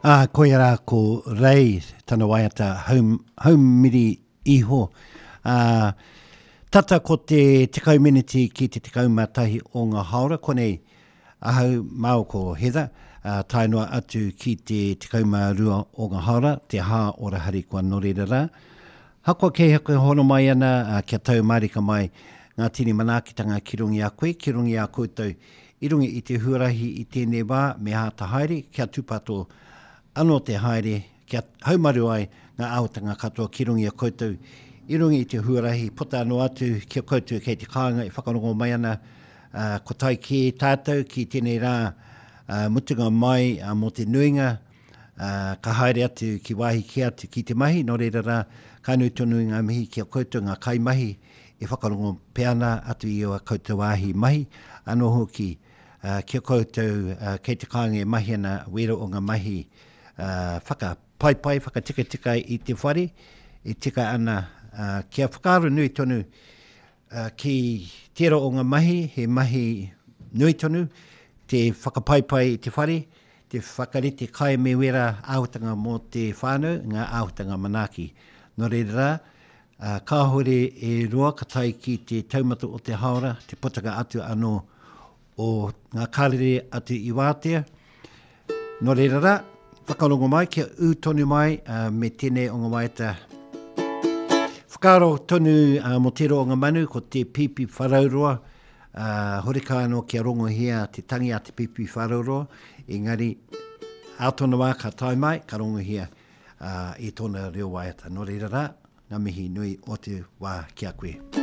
Ā, koia rā ko Rei tana waiata haum, haumiri iho. Ā, tata ko te 10 meneti ki te 11 o ngā hāora, konei ahau māua ko Heather, ā, tae noa atu ki te 12 o ngā hāora, te hā ora harikoa nō reira rā. Hakoa kei hea koe hono mai ana, ā, kia tau mārika mai ngā tini manaakitanga ki runga i a koe, ki runga i a koutou I runga i te huarahi i tēnei wā me āta haere kia tūpato anō te haere kia haumaru ai ngā āhuatanga katoa ki runga i a koutou i runga i te huarahi puta anō atu ki a koutou kei te kāinga e whakarongo mai ana, ā, ko tae kē tātou ki tēnei rā mutunga mai mō te nuinga, ā, ka haere atu ki wāhi kē atu ki te mahi, nō reira rā, ka nui tonu ngā mihi ki a koutou ngā kaimahi e whakarongo pea ana atu i ō koutou wāhi mahi, anō hoki ki a koutou kei te kāinga e mahi ana wēra o ngā mahi whakapaipai, whakatikatika i te whare, e tika ana kia whakaaro nui tonu ki tērā o ngā mahi, he mahi nui tonu, te whakapaipai i te whare, te whakarite kai me wērā āhuatanga mō te whānau, ngā āhuatanga manaaki. Nō reira rā, Ā, kāhore e roa ka tae ki te taumata o te hāora, te potanga atu anō o ngā karere atu i wātea. Nō reira rā, whakarongo mai, kia ū tonu mai ā, me tēnei o ngā waiata. Whakaaro tonu ā, mō tērā o ngā manu, ko te Pīpīwharauroa, ā, horekau anō kia rongohia te tangi a te Pīpīwharauroa, engari ā tōna wā ka tae mai, ka rongohia ā, i tōna reo waiata. Nō reira rā, ngā mihi nui o te wā ki a koe.